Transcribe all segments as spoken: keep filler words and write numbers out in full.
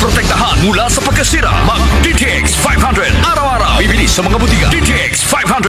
Protektahan mula sa pagkasira. Mag D T X five hundred. Araw-araw. Bibili sa mga botika. D T X five hundred.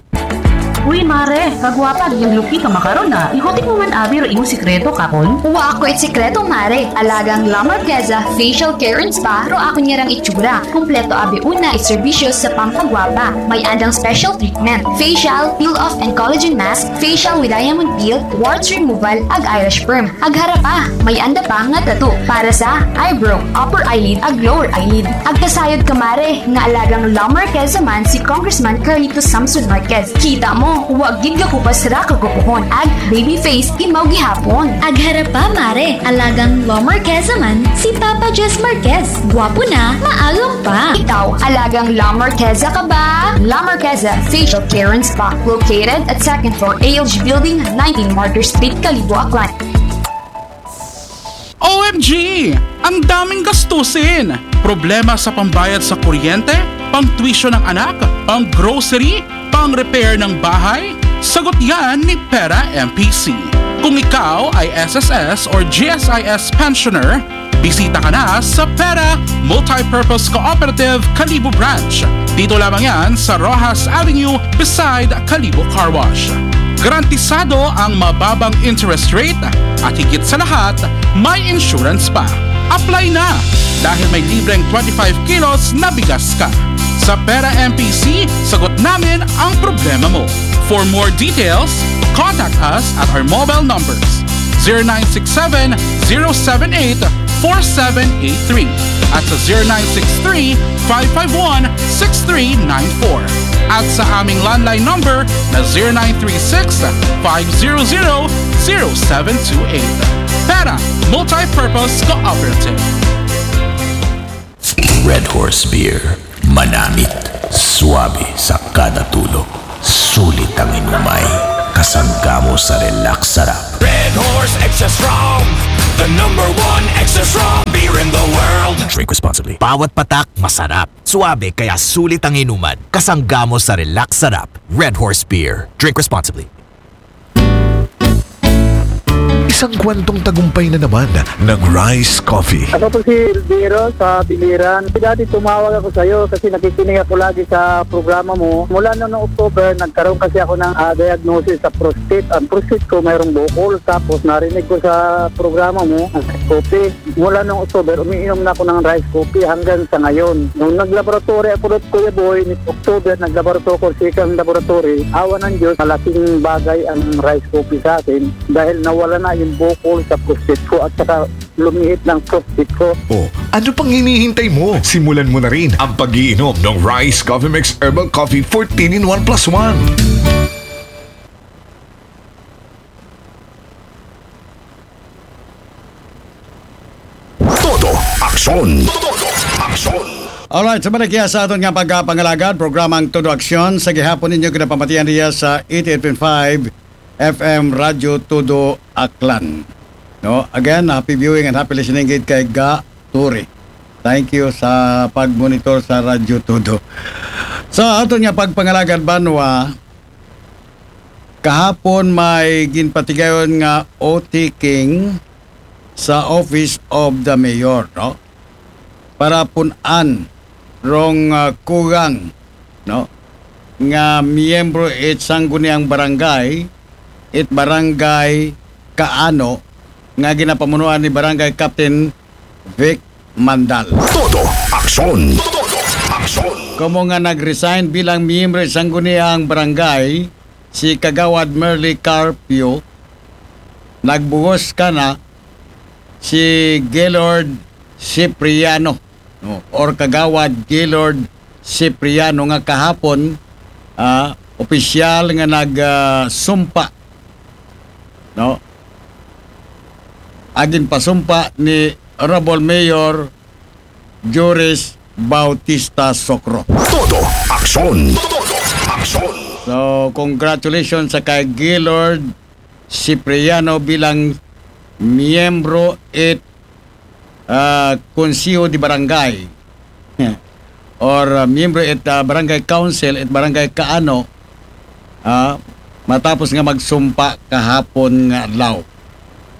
Uy, mare, kagwapa, yung lupi ka makaron na. Ikutik mo man abi ro imong sikreto, kakon? Wa ako it sikreto, mare. Alagang La Marqueza Facial Care and Spa ro ako niyarang itsura. Kumpleto abi una it serbisyo sa pampagwapa. May andang special treatment. Facial, peel-off and collagen mask, facial with diamond peel, warts removal, ag eyelash perm. Ag harapa, may anda pa nga tattoo para sa eyebrow, upper eyelid, ag lower eyelid. Ag kasayod ka, mare, nga alagang La Marqueza man si Congressman Carlito Samson Marquez. Kita mo, wa gid ka kupas ra kagupuhon. Ag baby face, imaw gihapon. Ag harapa, mare, alagang La Marqueza man si Papa Jess Marquez. Gwapo na, maagom pa. Ikaw, alagang La Marqueza ka ba? La Marqueza Facial Care and Spa, located at second floor A L G Building, nineteen Martyr Street, Kalibo, Aklan. O M G! Ang daming gastusin! Problema sa pambayad sa kuryente, pang tuition ng anak, pang grocery, pang repair ng bahay? Sagot yan ni Pera M P C. Kung ikaw ay S S S or G S I S pensioner, bisita ka na sa Pera Multipurpose Cooperative Kalibo Branch. Dito lamang yan sa Rojas Avenue beside Kalibo Car Wash. Garantisado ang mababang interest rate at higit sa lahat, may insurance pa. Apply na! Dahil may libreng twenty-five kilos na bigas ka. Sa Pera M P C, sagot namin ang problema mo. For more details, contact us at our mobile numbers zero nine six seven, zero seven eight, four seven eight three at sa zero nine six three, five five one, six three nine four at sa aming landline number na zero nine three six, five zero zero, zero seven two eight. Pera Multipurpose Cooperative. Red Horse Beer. Manamit, suabe sa kada tulo. Sulit ang inumay. Kasangga mo sa relax sarap. Red Horse Extra Strong, the number one extra strong beer in the world. Drink responsibly. Bawat patak masarap. Suabe kaya sulit ang inuman. Kasangga mo sa relax sarap. Red Horse Beer. Drink responsibly. Isang kwentong tagumpay na naman ng Rice Coffee. Ako po si Elviro sa Biliran. Dati tumawag ako sa iyo kasi nakikinig ako lagi sa programa mo. Mula noong October, nagkaroon kasi ako ng ah, diagnosis sa prostate. Ang prostate ko mayroong bukol. Tapos narinig ko sa programa mo, ang Rice Coffee. Mula noong October, umiinom na ako ng Rice Coffee hanggang sa ngayon. Nung naglaboratory ako doon, Kuya Boy, ni October, naglaboratory ako sa isang laboratory. Awa ng Diyos, malaking bagay ang Rice Coffee sa akin dahil nawala na yung bukol sa prostate ko at saka lumiit ng prostate ko. O, ano pang hinihintay mo? Simulan mo na rin ang pag-iinom ng Rice Coffee Mix Herbal Coffee fourteen in one plus one. Todo aksyon. Todo aksyon. Alright, sa balik sa aton nga pagkapangalagad, programang Todo Aksyon sa gihapon ninyo kinapamatian diya sa eighty-eight point five F M Radyo Todo Aklan. No, again, happy viewing and happy listening gid kay Ga Turi. Thank you sa pag-monitor sa Radyo Todo. Sa aton nga pagpangalagad banwa, kahapon may ginpatigayon nga O T King sa Office of the Mayor, no? Para pun-an rong uh, kugang, no? Nga miyembro it sangguniang barangay, it barangay Kaano, nga ginapamunuan ni Barangay Captain Vic Mandal. Todo aksyon. Todo aksyon. Komo nga nag-resign bilang miyembro sa sangguniang barangay, si Kagawad Merly Carpio, nagbuhos kana si Gaylord Cipriano, no, or Kagawad Gaylord Cipriano nga kahapon ah, opisyal nga nag ah, sumpa, no, agin pasumpa ni Honorable Mayor Joris Bautista Socro. Todo aksyon. Todo aksyon. So, congratulations sa kay Gaylord Cipriano bilang miyembro it ah, Konseho de Barangay or ah, miyembro it ah, Barangay Council it Barangay Kaano ah, matapos nga magsumpa kahapon nga adlaw.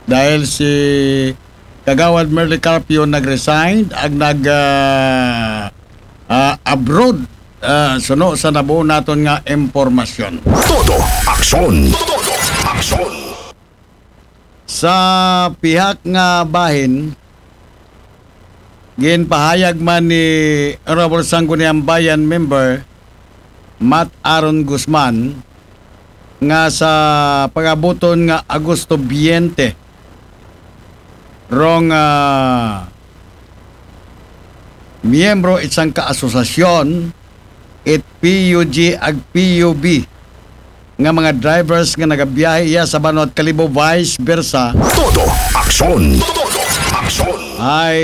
Dahil si Kagawad Merly Carpio nag-resign ag nag ah, ah, abroad. Ah, suno sa nabuo naton nga impormasyon. Todo aksyon. Todo aksyon. Sa pihak nga bahin, ginpahayag man ni Honorable Sangguniang Bayan member Matt Aaron Guzman nga sa pagabuton nga Agosto twenty, rong ah, miyembro isang kaasosasyon it P U G ag P U B nga mga drivers nga nagabiyahe iya sa Banwa ug Kalibo, vice versa, Todo aksyon. Todo aksyon. ay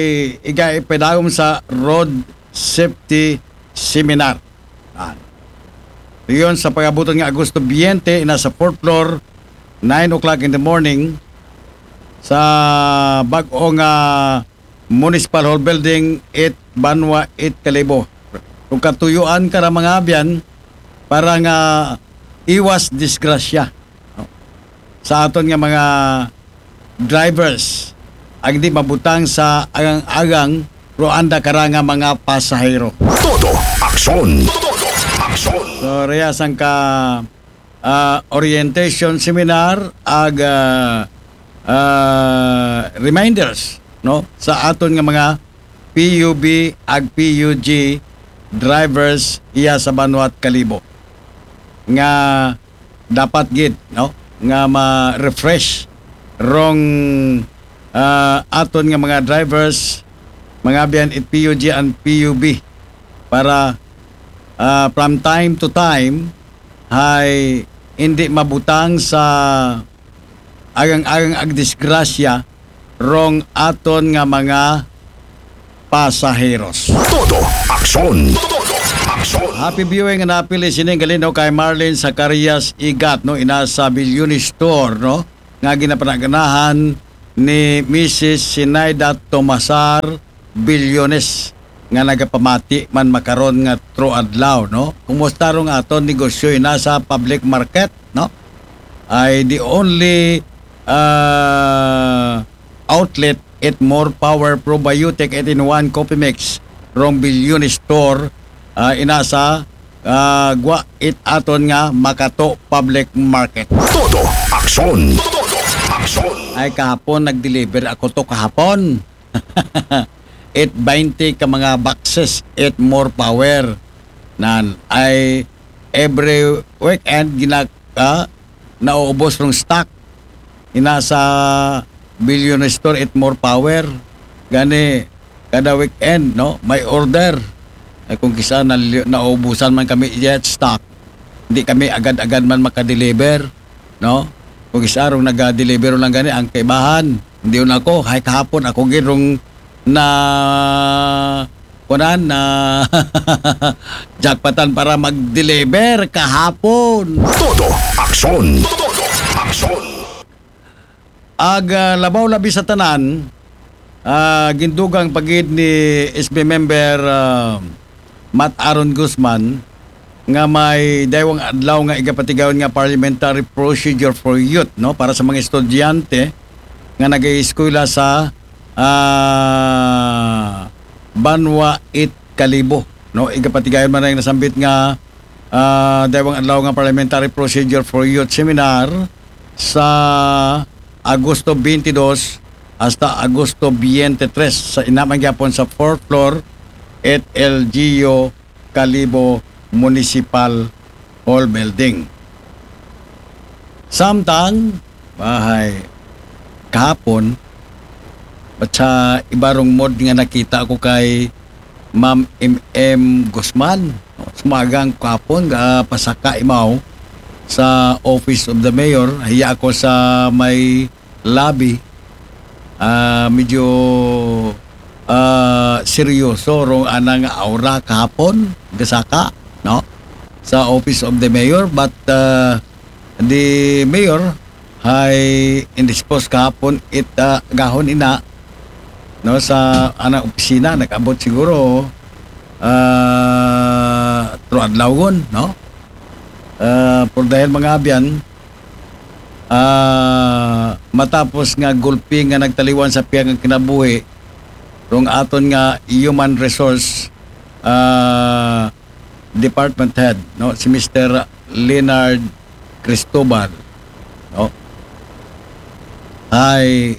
iga ipedagom sa road safety seminar. Ah. Iyon sa pagabuton nga Agosto twenty, ina sa fourth floor, nine o'clock in the morning, sa bag-o nga Municipal Hall Building, it Banwa, it Kalibo. Kung katuyuan ka ra mga abyan, para nga iwas disgrasya, no? Sa aton nga mga drivers, ang di mabutang sa agang-agang, ro anda ka ra nga mga pasahero. Todo aksyon. Todo aksyon. So, reya sang ka ah, orientation seminar ag ah, ah, reminders, no, sa aton nga mga P U B ag P U G drivers iya sa Banwa ug Kalibo nga dapat gid, no, nga ma-refresh rong ah, aton nga mga drivers, mga abyan, it P U G and P U B para ah, from time to time ay hindi mabutang sa agang-agang ag disgrasya rong aton nga mga pasaheros. Todo aksyon. Todo aksyon. Happy viewing and happy listening, galino, kay Marlene Zacarias Igat, no, ina sa Bilyoni Store, no, nga ginapanaganahan ni Missus Sinaida Tomasar Bilyones, nga nagapamati man makaron nga tro adlaw, no? Kumusta rong aton negosyo ina sa public market, no? Ay the only ah, outlet it More Power Probiotic eight-in-one Coffee Mix rong Bilyoni Store, ah, ina sa ah, gwa it aton nga Makato Public Market. Todo aksyon. Todo aksyon. Ay, kahapon nag-deliver ako to kahapon. It twenty ka mga boxes, it More Power. Nan ay every weekend gina ah, nauubos rong stock ina sa Billion Store, it More Power. Gani kada weekend, no, may order. Ay, kung kisa na, naubusan man kami yet stock, hindi kami agad-agad man makadeliver, no? Kung kisa rong naga-deliver lang gani ang kaibahan. Hindi yun ako, hay kahapon ako gid rong na kunan na jackpotan para mag-deliver kahapon. Todo aksyon. Todo aksyon. Ag ah, labaw labi sa tanan, ah, gindugang pa gid ni S B member ah, Matt Aaron Guzman nga may daywang adlaw nga igapatigayon nga parliamentary procedure for youth, no, para sa mga estudyante nga nag-eskwela sa ah, Banwa it Kalibo, no? Igapatigayon man ang nasambit nga ah, daywang adlaw nga parliamentary procedure for youth seminar sa Agosto twenty-two hasta Agosto twenty-three sa ina man gyapon sa fourth floor at L G U Kalibo Municipal Hall Building. Samtang, bahay, kahapon, at sa iba rong mod nga nakita ko kay Ma'am M M Guzman, no? Sumagang kahapon, ah, pasaka imaw sa Office of the Mayor. Hiya ako sa may lobby. Ah, medyo ah, seryoso rong anang aura kahapon, gasaka, no? Sa Office of the Mayor, but ah, the mayor hay indispose kahapon it ah, gahon ina, no, sa anang opisina, nag-abot siguro ah, tro adlawon, no? Ah, por dahil mga abyan, ah, matapos nga gulpi nga nagtaliwan sa pihak nga kinabuhi rong aton nga human resource, ah, department head, no, si Mister Leonard Cristobal, no, ay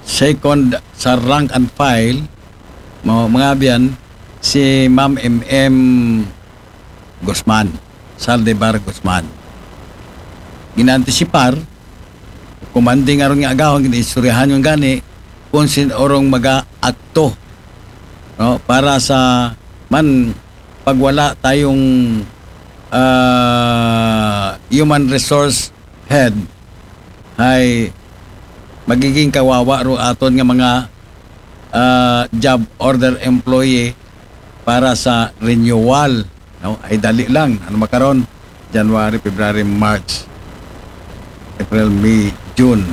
second sa rank and file, mo, mga abyan, si Ma'am M M Guzman, Saldivar Guzman. Ginaantisipar, kumandi nga rong agahon, ginaistoryahan yung gani, kung sin orong mag-aakto, no, para sa man pagwala tayong, ah, human resource head, ay magiging kawawa ro aton nga mga, ah, job order employee para sa renewal, no? Ay dali lang. Ano makaron? January, February, March, April, May, June,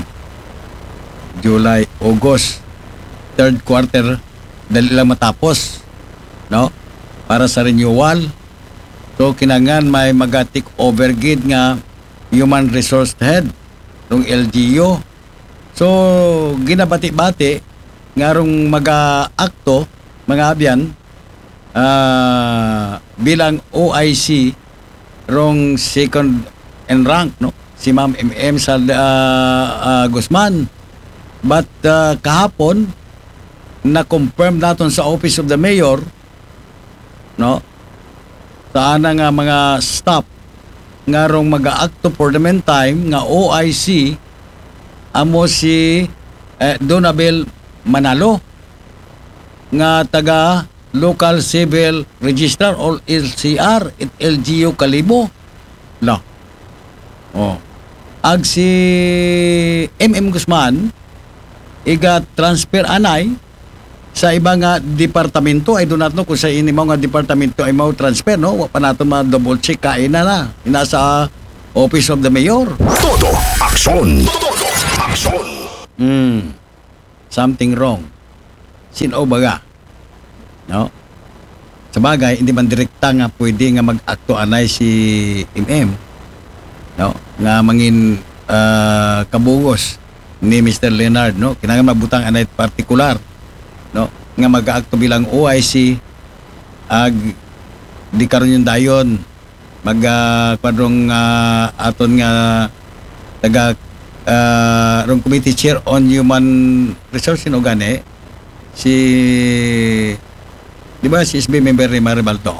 July, August, third quarter, dali lang matapos, no? Para sa renewal. So, kinangan may maga-take over gid nga human resource head ng L G U. So, ginabati-bati nga rong mag-aakto, mga abyan, ah, bilang O I C rong second in rank, no? Si Ma'am M M Sal-, ah, ah, Guzman. But, ah, kahapon, na-confirm naton sa Office of the Mayor, no? Sa ana nga mga staff nga rong mag-aakto for the meantime nga O I C, amo si, eh, Donabel Manalo, nga taga Local Civil Registrar or L C R at L G U Kalibo. La. Oh. Ag si M M Guzman, iga-transfer anay sa iba nga departamento. I do not know kung sa ini mo nga departamento ay mau transfer, no? Wa pa nato ma-double check kaina na. Ina sa Office of the Mayor. Todo aksyon. Todo aksyon. Hmm. Something wrong. Sin-o baga? No? Sa bagay, hindi man direkta nga pwede nga mag-akto anay si M M, no? Nga mangin, ah, kabugos ni Mister Leonard, no? Kinahanglan mabutang anay partikular, no? Nga mag-aakto bilang O I C, ag di karon yung dayon, mag, ah, kwadrong, ah, aton nga taga, ah, rong Committee Chair on Human Resource, sino gani? Si, di ba, si S B member ni Maribaldo?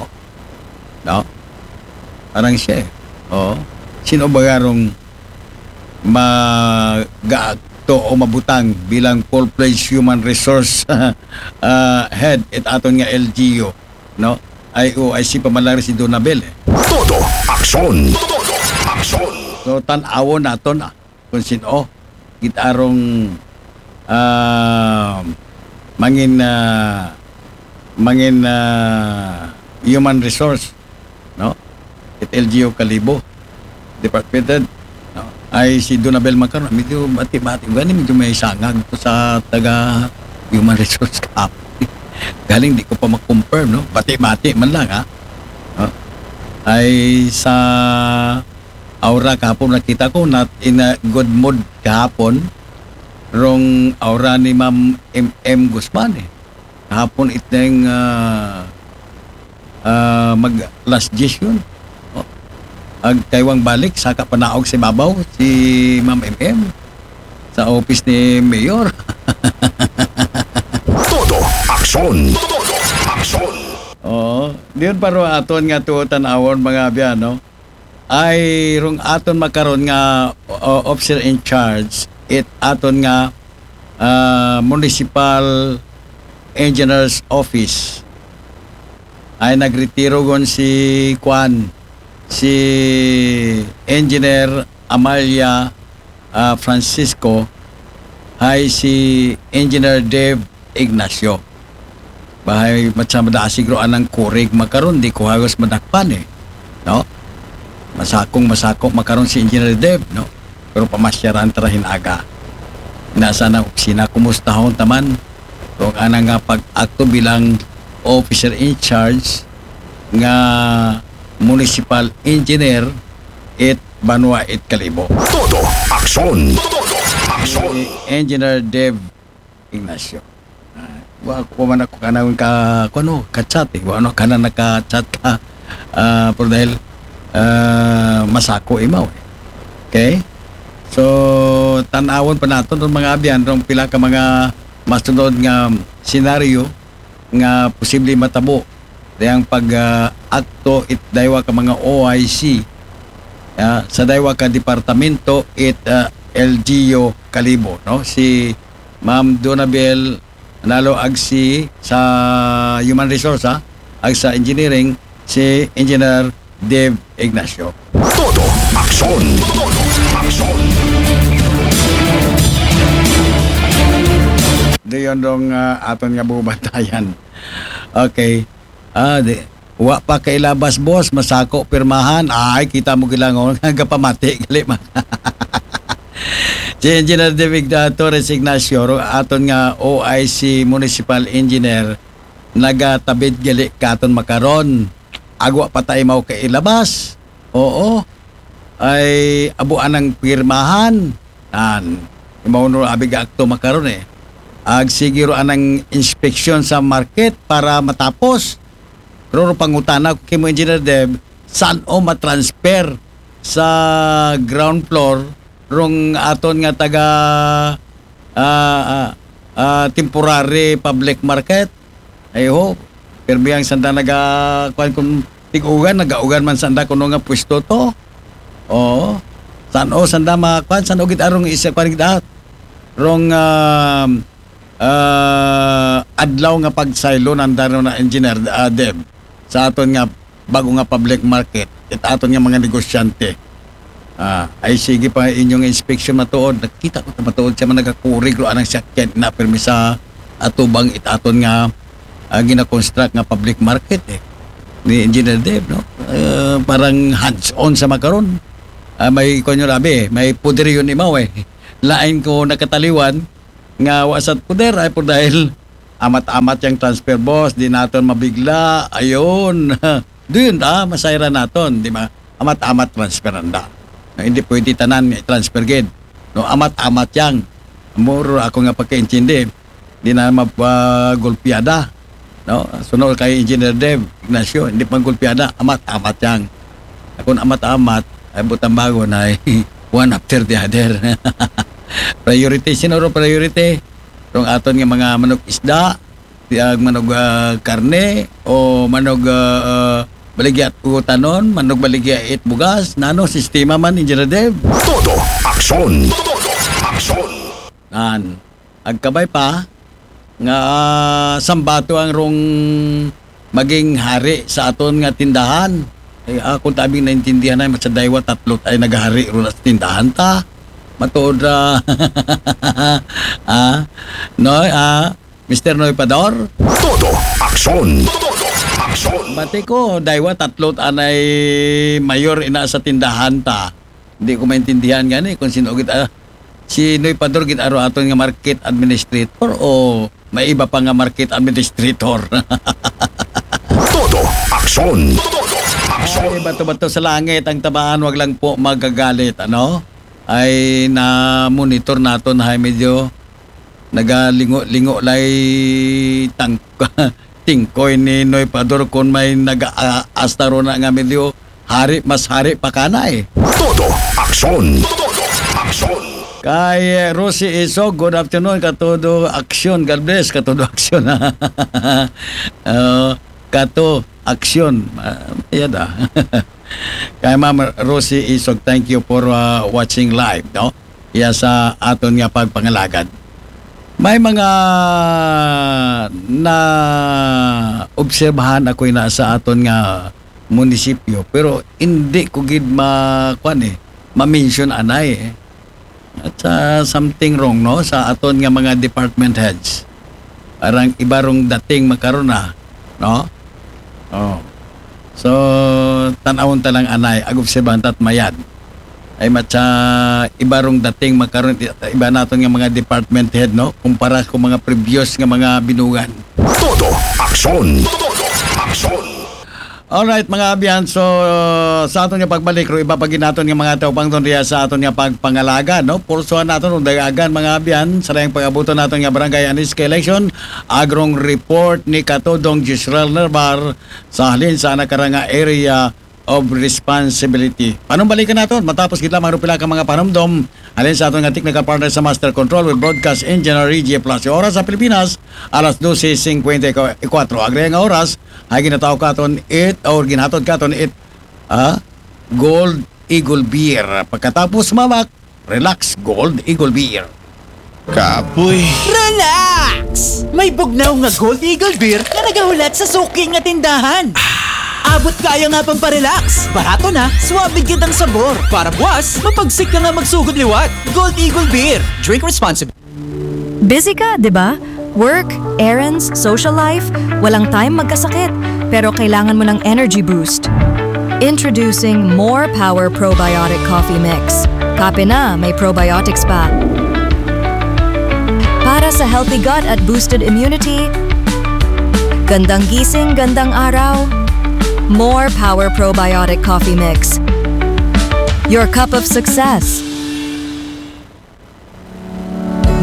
No? Parang siya eh. Oo. Sino ba garong mag-aakto o mabutang bilang full-fledged human resource, ah, head it aton nga L G U, no? Ay, o, ay si pamalang si Donabel eh. Todo aksyon. Todo aksyon. So, tan-awon naton, ah, kung sino gid arong, ah, mangin, ah, mangin, ah, human resource, no? It L G U Kalibo Department Head, no? Ay si Donabel Macaron, medyo bati-bati. Gani medyo may sangag to sa taga human resource kahapon. Galing di ko pa ma-confirm, no? Bati-bati man lang, ha? No? Ay sa aura kahapon nakita ko, not in a good mood kahapon. Rong aura ni Ma'am M M Guzman eh. Kahapon iteng, ah, ah, mag last dies yun. Oh. Ag kaywang balik, saka panaog si babaw, si Ma'am M M. Sa office ni Mayor. Todo aksyon. Todo aksyon. Oo. Diyon pa ro aton nga tuotan awon, mga abyan, no? Ay rong aton makaron nga, uh, officer in charge, it aton nga, uh, Municipal Engineer's Office. Ay nagretiro gon si Kwan, si Engineer Amalia, ah, Francisco, hay si Engineer Dave Ignacio. Bahay matsa madasig ro anang kurig makaron, di ko hagos madakpan eh. No? Masakong masako makaron si Engineer Dave, no? Pero pamasyaran tara hin aga. Nasa na opisina, kumustahon taman. Kung ana nga pag-akto bilang officer in charge nga municipal engineer, it banwa it Kalibo. Todo aksyon. Todo aksyon. Si Engineer Dave Ignacio. Ah, wa ko man ako kanang ka, kuno, ka-chat eh. Wa no kana naka-chat ka. Ah, pero dahil ah, masako imaw eh. Okay? So, tanawon pa nato ng mga abyan rong pila ka mga masunod nga senaryo nga posible matabo dayang pag ah, akto it daywa ka mga O I C ah, sa daywa ka departamento it ah, L G U Kalibo, no? Si Ma'am Donabel Nalo Agsi sa Human Resource, ha? Ag sa Engineering, si Engineer Dave Ignacio. Todo aksyon. Todo aksyon. Doon dong ah, aton nga bubantayan. Okay. Ah, di. Wa pa kailabas, boss, masako pirmahan. Ay, kita mo gilangon, gapamati gali man. Si Engineer David ah, Torres Ignacio, ro-, aton nga O I C Municipal Engineer, nagatabid gali katon makaron. Agwa pa tayo mao kailabas. Oo. Ay, abuan ang pirmahan. Nan, imaw no abi gaakto makaron eh. Ag sige ro anang inspeksyon sa market para matapos. Pero ro pangutana ko kimo Engineer Dev, saan o matransfer sa ground floor rong aton nga taga ah, ah, ah, temporary public market? Ay ho, pirmi ang sanda naga, kuan kung tig-ugan, nagaugan man sanda kuno nga pwesto to. Oo. San o sanda ma, kuan, san o gid arong isa, kuan gid at. Rong ah, ah, adlaw nga pagsaylo nanda ro na Engineer ah, Deb sa aton nga bago nga public market, it aton nga mga negosyante. Ah, ay sige pa inyong inspeksyon matuod. Nakita ko ta matuod siya man nagakurig ro anang sakyan na pirmi sa atubang it aton nga ah, gina-construct nga public market eh. Ni Engineer Dave, no? Ah, parang hands-on sa makaron. Ah, may, kuwan yun, labi eh. May poder yun imaw eh. Lain ko nakataliwan nga wa sa poder ay po dahil amat-amat yang transfer, boss, di naton mabigla. Ayun. Doon ta, masayra naton, di ba? Amat-amat transfer anda. Na hindi pwede tanan nga transfer gid. No, amat-amat yang. Muro ako nga pagkaintindi. Di na mapagulpiada. No? Sunod kay Engineer Dev Ignacio, hindi pagulpiada, amat-amat yang. Kung amat-amat, ay butang bago na ay one after the other. Priority, sino ro priority? Rong aton nga mga manok isda, tiyag manog ah, karne o manog ah, ah, baligya at utanon, manog baligya it bugas, nano sistema man, Engineer Dev? Todo aksyon. Todo aksyon. Nan, agkabay pa nga ah, sambato ang rong maging hari sa aton nga tindahan. Eh, ako tabing naintindihan ay sa daywa tatlo ay naghari ro sa tindahan ta. Matuod ra. Ah, no, ah, Mister Noy Pador? Todo aksyon. Todo aksyon. Bati ko, daywa, tatlo anay mayor ina sa tindahan ta. Hindi ko maintindihan gani kung sino gid ah, si Noy Pador gid aro aton nga market administrator o may iba pa nga market administrator. Todo aksyon. Todo aksyon. Ay, bato-bato sa langit ang tamaan, wag lang po magagalit, ano? Ay na-monitor naton hay medyo nagalingo-lingo lay tang tingkoy ni Noy Pador kon may naga-, a-, asta ro na nga medyo hari, mas hari pa kanay. Todo aksyon. Todo aksyon. Kay eh, Rosie Isog, good afternoon, katudo aksyon. God bless, katudo aksyon. Ah, kato aksyon. Ah, yada. Kay Ma'am Rosie Isog, thank you for uh, watching live, no? Iya sa aton nga pagpangalagad. May mga na obserbahan ako ina sa aton nga munisipyo, pero hindi ko gid ma kuan eh, ma-mention anay eh. At sa something wrong, no, sa aton nga mga department heads. Arang iba rong dating makaron na, no? Oh. So, tan-awon ta lang anay, ag-obserbahan ta at mayad. Ay matsa iba rong dating makaron, iba naton nga mga department head, no? Kumpara ko mga previous nga mga binugan. Todo aksyon. Todo aksyon. Alright, mga abyan, so sa aton nga pagbalik, ro iba pa gid naton nga mga taupangton diya sa aton nga pagpangalaga, no? Pursuhan naton ug dagagan, mga abyan, sa dayang pag-abuton naton nga barangay anis kay election, agrong report ni Katodong Gisrel Nerbar sa halin sa nakarang nga area of responsibility. Panumbalikan naton matapos gid lamang ro pila ka mga panumdom halin sa aton nga technical partner sa Master Control with Broadcast Engineer Reggie Palacio. Oras sa Pilipinas, alas dose singkwenta y kuwatro. Agre nga oras, ay ginatawag katon it, or ginhatod katon it, ah, Gold Eagle Beer. Pagkatapos mamak, relax, Gold Eagle Beer. Kapoy. Relax! May bugnaw nga Gold Eagle Beer nga nagahulat sa suki nga tindahan. Abot kaya nga pamparelax. Barato na, suabe gid ang sabor. Para buwas, mapagsik ka nga magsugod liwat. Gold Eagle Beer. Drink responsibly. Busy ka, di ba? Work, errands, social life, walang time magkasakit. Pero kailangan mo ng energy boost. Introducing More Power Probiotic Coffee Mix. Kape na, may probiotics pa. Para sa healthy gut at boosted immunity, gandang gising, gandang araw. More Power Probiotic Coffee Mix. Your cup of success.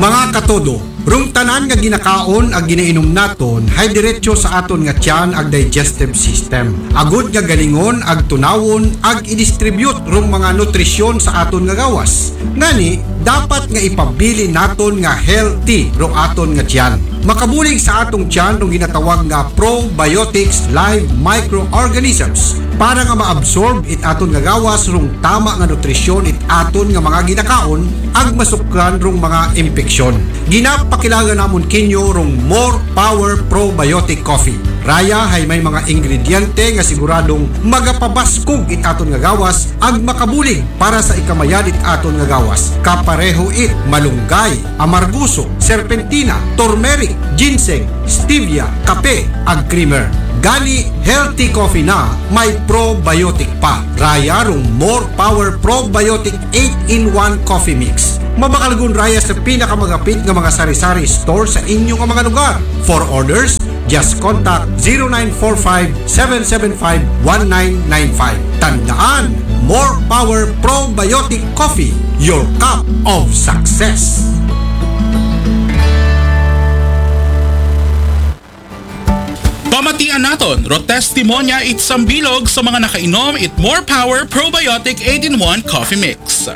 Mga katodo, rong tanan nga ginakaon ag ginainom naton hay diretso sa aton nga tiyan ag digestive system. Agud nga galingon ag tunawon ag i-distribute rong mga nutrisyon sa aton nga gawas. Ngani, dapat nga ipabilin naton nga healthy ro aton nga tiyan. Makabulig sa atong tiyan rong ginatawag nga probiotics live microorganisms para nga maabsorb it aton nga gawas rong tama nga nutrisyon it aton nga mga ginakaon ag masukran rong mga impeksyon. Ginapakilaga namon kinyo rong More Power Probiotic Coffee. Raya hay may mga ingrediente nga siguradong magapabaskog it aton nga gawas ag makabulig para sa ikamayad it aton nga gawas. Kapareho it malunggay, amarguso, serpentina, turmeric, ginseng, stevia, kape, ag creamer. Gani, healthy coffee na may probiotic pa. Raya rong More Power Probiotic eight-in-one Coffee Mix. Mabakalgon raya sa pinakamagapit nga mga sari-sari store sa inyo nga mga lugar. For orders, just contact zero nine four five, seven seven five, one nine nine five. Tandaan, More Power Probiotic Coffee, your cup of success. Pamatian naton, ro testimonya it sambilog sa mga nakainom it More Power Probiotic eight-in-one Coffee Mix.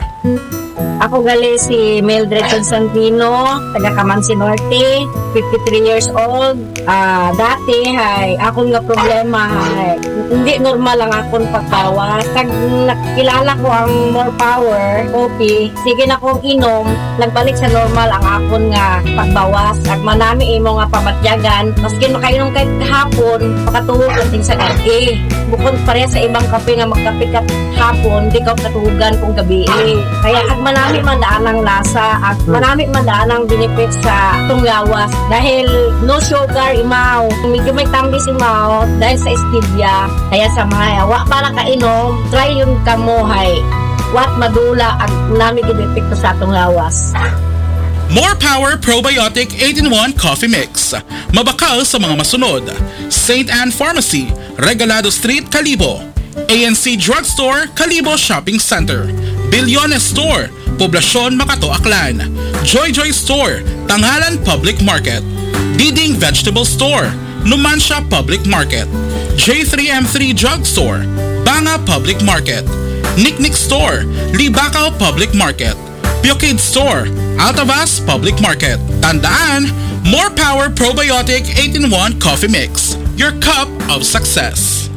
Ako gali si Mildred Constantino, taga Camansi Norte, fifty-three years old. Ah, dati hay akon nga problema hay hindi normal ang akon pagbawas. Kag nakilala ko ang More Power Coffee, sige na kong inom, nagbalik sa normal ang akon nga pagbawas. Ag manami imo nga pamatyagan, maskin makainom kay hapon, makatuhog ang sa gabi. Bukod pareha sa ibang kape nga magkape ka hapon, di ka katuhugan kung gabi. Kaya ag manami man daan ang lasa, ag manami man daan ang benefits sa atong gawas. Dahil no sugar imaw, medyo may tambis imaw dahil sa stevia. Kaya sa mga wa pa nakainom, try yun kamo hay. Wat madula ag nami gid epekto sa atong gawas. More Power Probiotic eight-in-one Coffee Mix. Mabakal sa mga masunod: Saint Anne Pharmacy, Regalado Street, Kalibo. A N C Drugstore, Kalibo Shopping Center. Bilyones Store, Poblacion, Makato, Aklan. Joy Joy Store, Tangalan Public Market. Diding Vegetable Store, Numancia Public Market. J three M three Drugstore, Banga Public Market. Niknik Store, Libacao Public Market. Pure Kid Store, Altavas Public Market. Tandaan, More Power Probiotic eight-in-one Coffee Mix, your cup of success.